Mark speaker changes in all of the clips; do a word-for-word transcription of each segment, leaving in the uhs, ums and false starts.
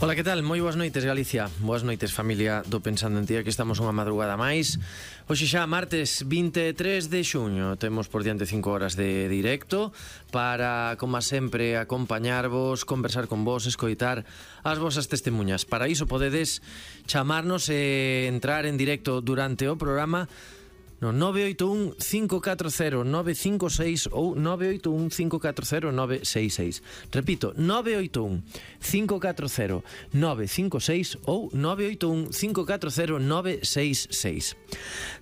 Speaker 1: Ola, que tal? Moi boas noites, Galicia. Boas noites, familia do Pensando en Ti. Aquí estamos unha madrugada máis. Hoxe xa, martes vinte e tres de xuño. Temos por diante cinco horas de directo para, como sempre, acompañarvos, conversar con vos, escoitar as vosas testemunhas. Para iso podedes chamarnos e entrar en directo durante o programa no nove oito un cinco catro cero nove cinco seis ou nove oito un cinco catro cero nove seis seis. Repito, nove oito un cinco catro cero nove cinco seis ou nove oito un cinco catro cero nove seis seis.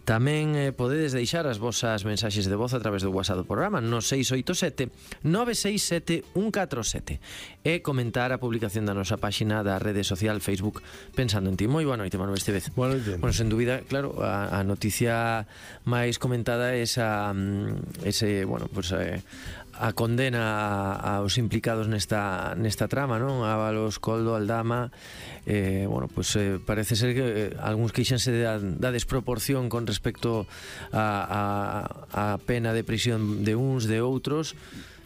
Speaker 1: Tamén eh, podedes deixar as vosas mensaxes de voz a través do WhatsApp do programa no seis oito sete nove seis sete un catro sete e comentar a publicación da nosa páxina da rede social Facebook Pensando en Ti. Moi boa noite, Manuel Estevez.
Speaker 2: Boa noite.
Speaker 1: Bueno, sen dúbida, claro, a, a noticia máis comentada é esa ese, bueno, pues eh, a condena aos implicados nesta nesta trama, non? Ábalos, Coldo, Aldama, eh, bueno, pues eh, parece ser que eh, algúns queixanse da, da desproporción con respecto a, a, a pena de prisión de uns, de outros.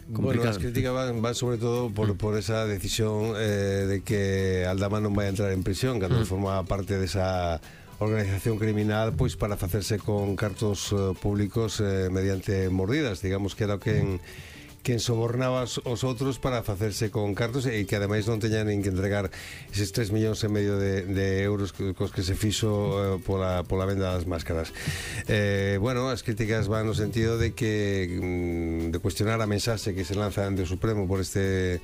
Speaker 2: Complicado. Bueno, as críticas van, van sobre todo por, por esa decisión eh, de que Aldama non vai a entrar en prisión cando mm. forma parte desa organización criminal, pois para facerse con cartos uh, públicos eh, mediante mordidas, digamos que era o que en quen sobornaba os outros para facerse con cartos e que ademais non teñan nin que entregar eses tres millóns e medio de, de euros cos que se fixo eh, pola, pola venda das máscaras. Eh, bueno, as críticas van no sentido de que de cuestionar a mensaxe que se lanza ante o Supremo por este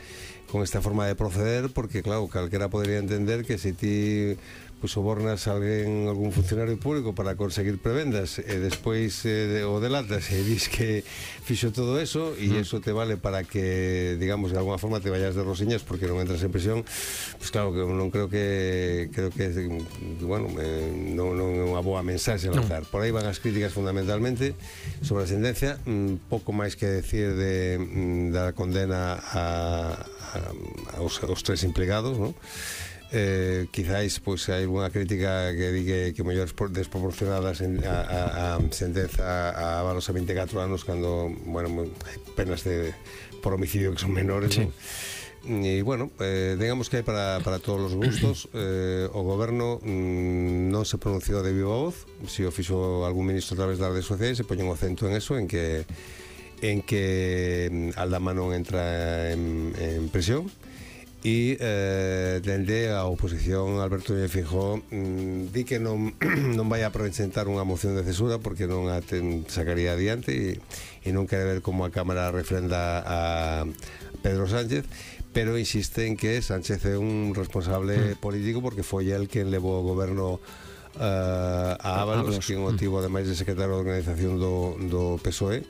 Speaker 2: con esta forma de proceder, porque claro, calquera podría entender que se ti pues sobornas a alguén, algún funcionario público para conseguir prebendas e despois eh, o delatas e dis que fixo todo eso e mm. eso te vale para que, digamos, de alguna forma te vayas de rosiñas porque non entras en prisión, pues claro que non creo que creo que bueno, eh, non, non é unha boa mensaxe lanzar. No. Por aí van as críticas fundamentalmente sobre a sentencia, mm, pouco máis que decir de, mm, da condena a, a, aos, aos tres implicados, non? Eh, quizáis pois hai unha crítica que diga que mellor desproporcionadas en, a, a, a sentenza a Ábalos a vinte e catro anos cando, bueno, hai penas de, por homicidio que son menores, sí. ¿No? E bueno, eh, digamos que hai para, para todos os gustos. eh, o goberno mm, non se pronunciou de viva voz, si o fixo algún ministro a través das redes sociais, se poñen o acento en eso, en que en que Aldama non entra en, en prisión. E eh, dende a oposición Alberto Núñez Feijóo mm, di que non, non vai a presentar unha moción de censura porque non a ten, sacaría adiante e, e non quere ver como a Cámara refrenda a Pedro Sánchez, pero insiste en que Sánchez é un responsable mm. político porque foi el quen levou o goberno uh, a Ábalos, que é un motivo ademais de secretario de organización do, do P S O E,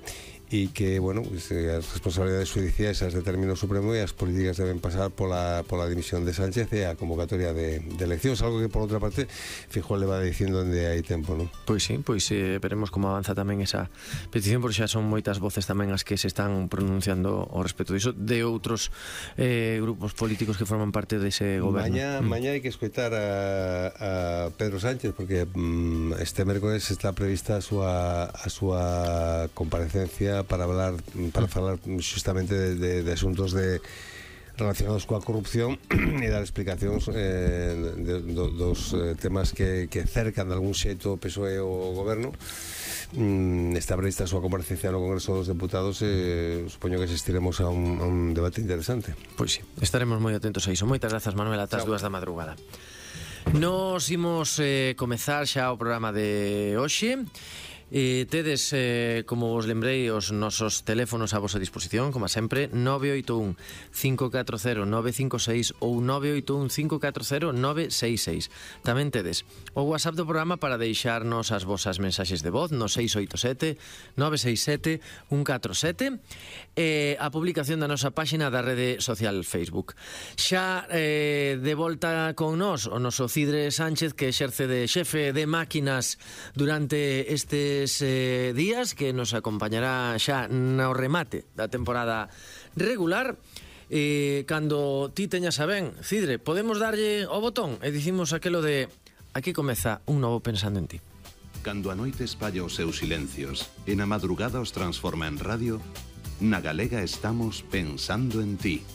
Speaker 2: e que, bueno, pues, as responsabilidades judiciais as determina o Supremo e as políticas deben pasar pola, pola dimisión de Sánchez e a convocatoria de, de eleccións, algo que por outra parte Feijóo le va dicindo onde hai tempo, non?
Speaker 1: Pois sí, pois eh, veremos como avanza tamén esa petición, porque xa son moitas voces tamén as que se están pronunciando ao respecto diso de outros eh, grupos políticos que forman parte dese goberno.
Speaker 2: Mañá, mm. mañá hai que escoitar a, a Pedro Sánchez porque mm, este mércoles está prevista a súa, a súa comparecencia para hablar para falar justamente de, de, de asuntos de relacionados coa corrupción e dar explicacións eh, de, de, dos eh, temas que, que cercan de algún xeito o P S O E o goberno. Mm, está prevista a súa comparecencia no Congreso dos Deputados e eh, supoño que asistiremos a un, a un debate interesante.
Speaker 1: Pois sí, estaremos moi atentos a iso. Moitas grazas, Manuel, ata as dúas da madrugada. Nos imos eh, comezar xa o programa de hoxe. E tedes, eh, como vos lembrei, os nosos teléfonos a vosa disposición, como sempre, nove oito un cinco catro cero nove cinco seis ou nove oito un cinco catro cero nove seis seis. Tamén tedes o WhatsApp do programa para deixarnos as vosas mensaxes de voz no seis oito sete nove seis sete un catro sete e a publicación da nosa páxina da rede social Facebook. Xa eh, de volta con nós o noso Cidre Sánchez, que exerce de xefe de máquinas durante este Eh, días, que nos acompañará xa no remate da temporada regular. Eh, cando ti teñas a ben, Cidre, podemos darlle o botón e dicimos aquelo de aquí comeza un novo Pensando en Ti.
Speaker 3: Cando a noite espalla os seus silencios e na madrugada os transforma en radio, na Galega estamos pensando en ti.